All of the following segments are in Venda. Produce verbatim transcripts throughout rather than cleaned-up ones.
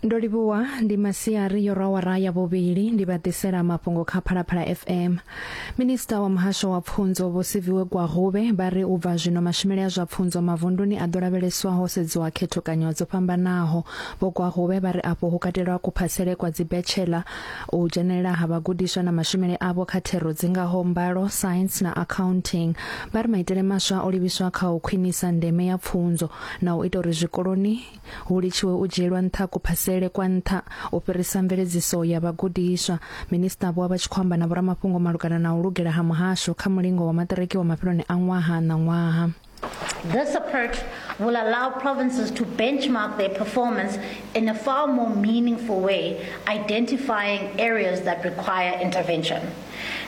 Ndo livhuwa ndi masiari yo rawara ya vhuvhili ndi vha ḓisela mafhungo kha Phalaphala F M. Minista wa muhasho wa pfunzo Vho Siviwe Gwarube vha ri u bva zwino mashumele a zwa pfunzo mavunduni a ḓo lavheleswa ho sedziwa khethokanyo dzo fhambanaho. Vho Gwarube vha ri afho hu katelwa kuphasele kwa dzi bachelor, u dzhenelela ha vhagudiswa na mashumele avho kha thero dzingaho mbalo, science na accounting. Vha ri maitele maswa o livhiswa kha u khwinisa ndeme ya pfunzo na u ita uri zwikoloni hu litshiwe u dzhielwa nṱha kuphasele kwa nṱha u fhirisa mveledziso ya vhagudiswa. Minista vho vha tshi khou amba na vhoramafhungo malugana na u lugela ha muhasho kha mulingo wa maṱiriki wa mafheloni a ṅwaha na ṅwaha. This approach will allow provinces to benchmark their performance in a far more meaningful way, identifying areas that require intervention.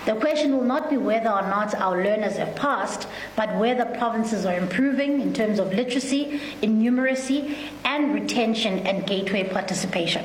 The question will not be whether or not our learners have passed, but whether provinces are improving in terms of literacy, in numeracy, and retention and gateway participation.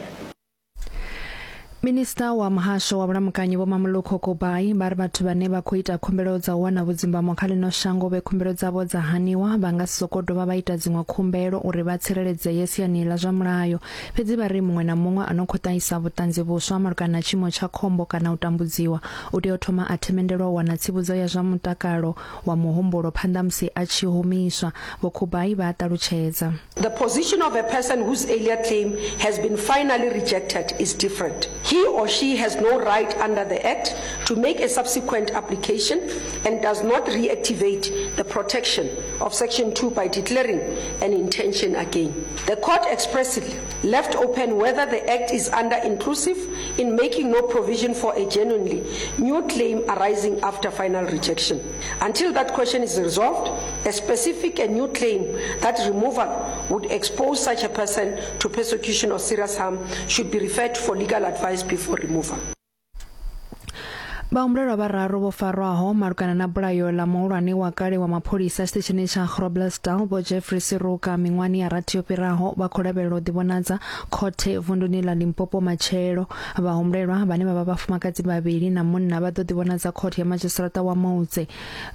Minista wa muhasho wa vhulamukanyi Vho Mamoloko Kubayi vha ri vhathu vhane vha khou ita khumbelo dza u wana vhudzimbamo kha ḽino shango vhe khumbelo dzavho dza haniwa vha nga si sokou dovha vha ita dziṅwe khumbelo uri vha tsireledzee siani ḽa zwa mulayo. Fhedzi vha ri muṅwe na muṅwe a no khou ṱahisa vhuṱanzi vhuswa malugana na tshiimo tsha khombo kana u tambudziwa u tea u thoma a themendelwa u wana tsivhudzo ya zwa mutakalo wa muhumbulo phanḓa musi a tshi humiswa. Vho Kubayi vha a ṱalutshedza. The position of a person whose earlier claim has been finally rejected is different. He or she has no right under the Act to make a subsequent application and does not reactivate the protection of Section two by declaring an intention again. The court expressly left open whether the Act is under inclusive in making no provision for a genuinely new claim arising after final rejection. Until that question is resolved, a specific and new claim that removal would expose such a person to persecution or serious harm should be referred for legal advice before removal. Vhahumbulelwa vhararu vho farwaho malugana na bulayo ḽa muhulwane wa kale wa mapholisa tshiṱitshini tsha Groblersdal Vho Jeffrey Siruka miṅwahani ya rathi yo fhiraho vha khou lavhelelwa u ḓivhonadza khothe vunduni ḽa Limpopo matshelo. Vhahumbulelwa vhane vha vha vhafumakadzi vhavhili na munna vha ḓo ḓivhonadza khothe ya madzhisiṱiraṱa wa Moutse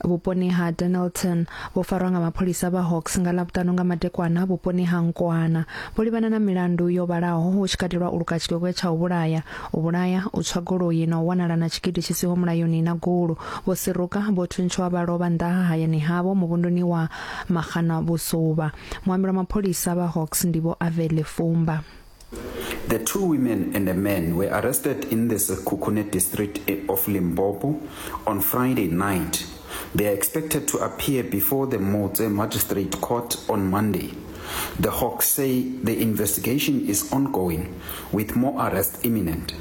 vhuponi ha Dennilton. Vho farwa nga mapholisa vha Hawks nga Ḽavhuṱanu nga madekwana vhuponi ha Nkwana. Vho livhana na milandu yo vhalaho hu tshi katelwa u luka tshikwekwe tsha u vhulaya, u vhulaya, u tswa goloi na u wanala na tshigidi tshi siho mulayoni na gulu. Vho Siruka vho thuntshwa vha lovha nnḓa ha hayani havho muvhunduni wa Magana Vhusuvha. Muambeli wa mapholisa vha Hawks ndi Vho Avele Fumba. The two women and a man were arrested in the Sekhukhune district of Limpopo on Friday night. They are expected to appear before the Moutse Magistrate Court on Monday. The Hawks say the investigation is ongoing, with more arrests imminent.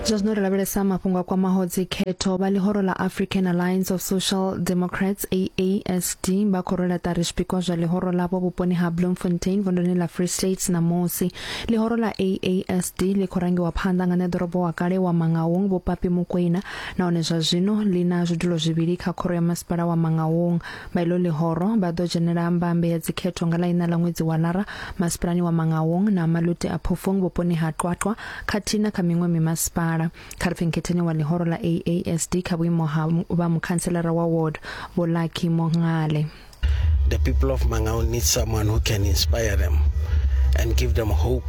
Zwa zwino ri lavhelesa mafhungo a kwamaho dzikhetho. Vha ḽihoro ḽa African Alliance of Social Democrats A A S D vha khou rwela ṱari zwipikwa zwa ḽihoro ḽavho vhuponi ha Bloemfontein vunduni ḽa Free State ṋamusi. Ḽihoro ḽa A A S D ḽi khou rangiwa phanḓa nga ṋeḓorobo wa kale wa Mangaung Vho Papi Mokoena, nahone zwa zwino ḽi na zwidulo zwivhili kha khoro ya masipala wa Mangaung. Vha iḽo ḽihoro vha ḓo dzhenela mbambe ya dzikhetho nga ḽa iṋa ḽa ṅwedzi wa Lara masipalani wa Mangaung na Maluti a Phofung vhuponi ha Qwaqwa khathihi na kha miṅwe mimasipala. Kha ri pfe nkhetheni wa ḽihoro ḽa A A S D kha vhuimo ha vha mukhantselara wa ward Vho Lucky Mongale. The people of Mangaung need someone who can inspire them and give them hope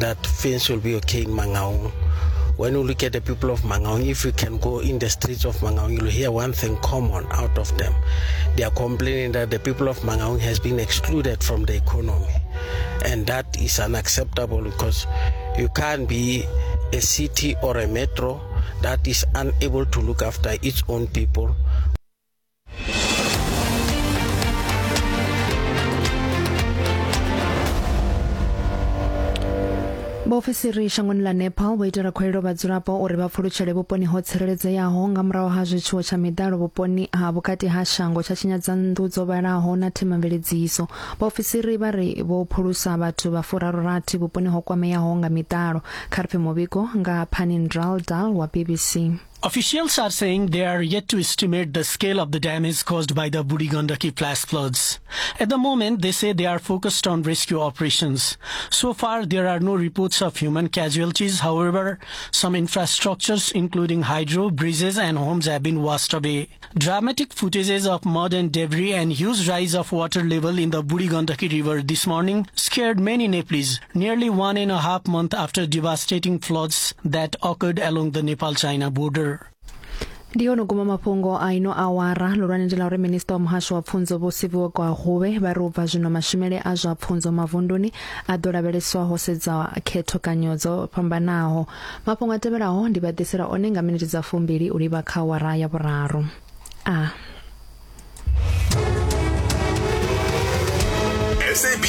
that things will be okay in Mangaung. When you look at the people of Mangaung, if you can go in the streets of Mangaung, you'll hear one thing common out of them. They are complaining that the people of Mangaung has been excluded from the economy. And that is unacceptable because you can't be a city or a metro that is unable to look after its own people. Vhaofisiri shangoni ḽa Nepal vho itela khuwelelo vhadzulapo uri vha pfulutshele vhuponi ho tsireledzeaho nga murahu ha zwitshiwo tsha miḓalo vhuponi ha vhukati ha shango tsha tshinyadza nnḓu dzo vhalaho na themamveledziso. Vhaofisiri vha ri vho phulusa vhathu vha furaru-rathi vhuponi ho kwameaho nga miḓalo. Kha ri pfe muvhigo nga Panindral Dal wa B B C. Officials are saying they are yet to estimate the scale of the damage caused by the Budi Gandaki flash floods. At the moment, they say they are focused on rescue operations. So far, there are no reports of human casualties. However, some infrastructures, including hydro, bridges and homes, have been washed away. Dramatic footages of mud and debris and huge rise of water level in the Budi Gandaki River this morning scared many Nepalese, nearly one and a half month after devastating floods that occurred along the Nepal-China border. Ndi ono guma mafhungo a ino awara lolwane ndi ḽa uri minista wa muhasho wa pfunzo Vho Siviwe Gwarube vha ri u bva zwino mashumele a zwa pfunzo mavunduni a ḓo lavheleswa ho sedza khethokanyo dzo fhambanaho. Mafhungo a tevhelaho ndi vha ḓisela one nga miniti dza fumbili u livha kha awara ya vhuraru. A